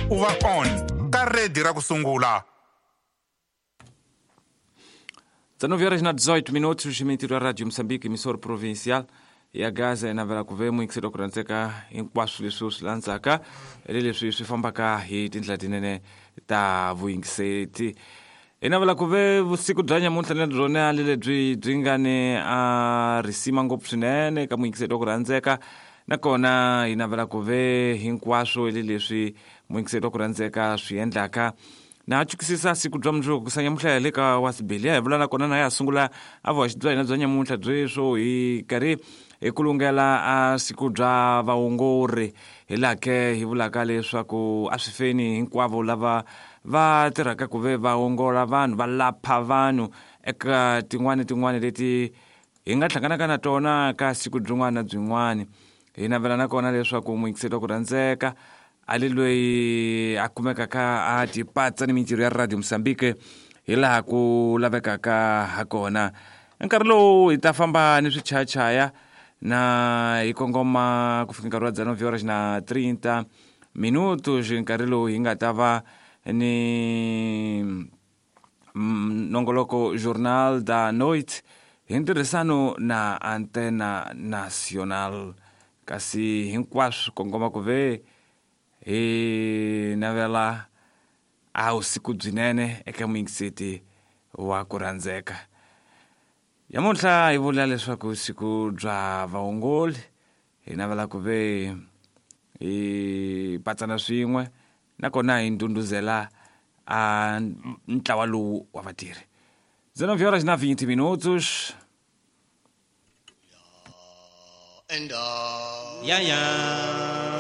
U va on ka redi ra ku sungula. 19 horas na 18 minutos, mintirho ya Radio Moçambique, emissora provincial ya Gaza navela ku ve muyingiseri ku rhandzeka hinkwaswo leswi u swi landzaka le leswi swi fambaka hi tindlela tinene ta vuyingiseti. Hi navela ku ve vusiku bya nyamuntlha na byona le lebyi byi nga ni a risima ngopfu swinene ka muyingiseri wa ku rhandzeka, nakona hi navela ku ve hinkwaswo le leswi muyingiseri wa ku rhandzeka swi endlaka. Na chukisisa siku bya mundzuku ku nyamuntlha hi le ka wasibili hi vula nakona na ya sungula a vuhaxi bya hina bya nyamuntlha byeswo hi karhi hi kulungela a siku bya vaongori, hi laha ke hi vulaka leswaku a swi feni hinkwavo lava va tirhaka ku ve va ongola vanhu, va lapha vanhu eka tin'wani tin'wani leti hi nga hlanganaka na tona ka siku byin'wana na byin'wana. Hi navela nakona leswaku muyingiseri wa ku rhandzeka a le loyi a kumekaka a tipatsa ni mintirho ya Radio Mozambique hi laha ku lavekaka ha kona. Nkarhi lowu hi ta famba ni swichayachaya na hi kongoma ku fika nkarhi wa 19 horas na 30 minutos, nkarhi lowu hi nga ta va ni nongoloko Journal da Noite hi ntirhisano na Antena Nacional. Kasi hinkwaswo kongoma ku ve hi navela a vusiku byinene eka muyingiseti wa ku rhandzeka. Nyamuntlha hi vula leswaku siku bya vaongoli, hi navela ku ve hi patsana swin'we nakona hi ndhundhuzela a ntlawa lowu wa vatirhi. 19 horas na 20 minutos. Ya ya.